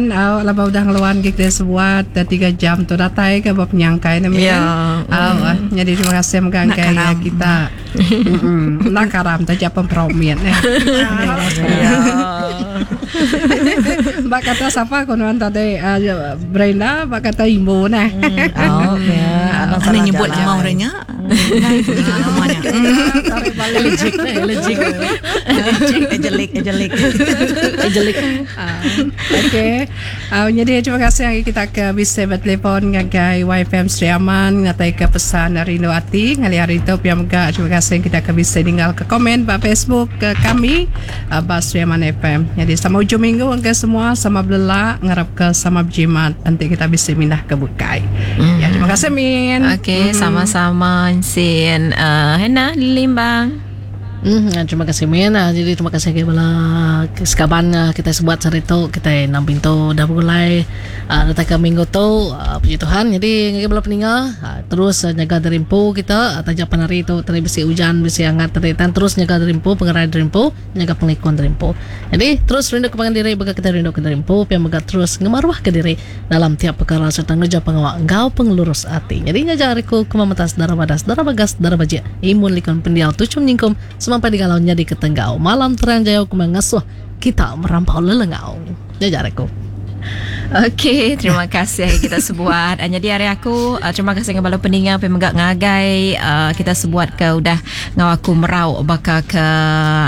Min au laban udah ngeluan ke kita sebuat 3 jam tu datai ke ba penyangkai ne Min. Ya. Au nyadi terima kasih mega Nak ngagai karam. kita. Mm enda karam taja pen perau mit eh. Ya. Ba kata sapa ko nuan tadi Brenda ba kata imbu neh. Au ya. Anang Ana salah nyebut jalai. nama orang nya. Ngai ku nyebut nama nya. Tarik balik. Elegik, elegik. Elegik, ejelik, ejelik. Ejelik. Okey. Nyadi terima kasih hari kita ke bisi betelefon ngagai YFM Sri Aman ngatai ke pesan rindu ati ngalih hari tu pia mega terima kasih kita ke bisi ninggal ke komen ba Facebook ke kami ba Sri Aman FM. Nyadi sama ujung minggu engka semua sama belelak ngarap ke sama bejimat enti kita bisi mindah ke bukai. Ya terima kasih min. Okey, sama-sama Ensin. Uh, Hannah Limbang. Hmm, terima kasih Min. Ah, jadi terima kasih agi bala sekaban ah, kita sebuat sehari tu kita enam pintu dah begulai ah, datai ke minggu tu ah, puji Tuhan. Jadi ngagai bala peninga ah, terus ah, nyaga diri empu kita ah, taja pan hari tu tadi bisi ujan bisi angat tadi tan terus nyaga diri empu pengerai diri empu nyaga pengelikun diri empu. Jadi terus rindu ke pangan diri baka kita rindu ke diri empu pia mega terus ngemaruh ke diri dalam tiap pekara sereta ngereja pengawa enggau pengelurus ati. Nyadi ngajar ari ku ke memetas dara badas, dara bagas, dara bajik, imun likun pendiau tuchum nyingkum semampai digalau nyadi ke tenggau. Malam terang jayau ke ngasuh kita merampau lelengau. Ngajar ari ku. Okey, terima kasih kita sebuat. Ah, Jadi hari aku ah, terima kasih dengan bala peninga pe mega ngagai ah, kita sebuat ke udah ngau aku merau baka ke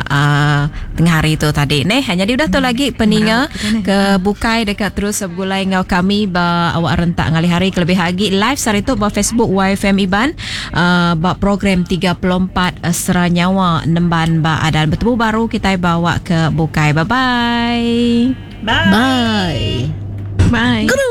uh, tengah hari tu tadi neh. Jadi udah tu lagi peninga ke bukai dekat terus begulai ngau kami ba awak rentak ngalih hari kelebih agi live sehari tu ba Facebook YFM Iban uh, ba program 34 Sera Nyawa Nemban ba Adan. Bertemu baru kita bawa ke bukai. Bye bye. Bye. Bye. Bye. Guru.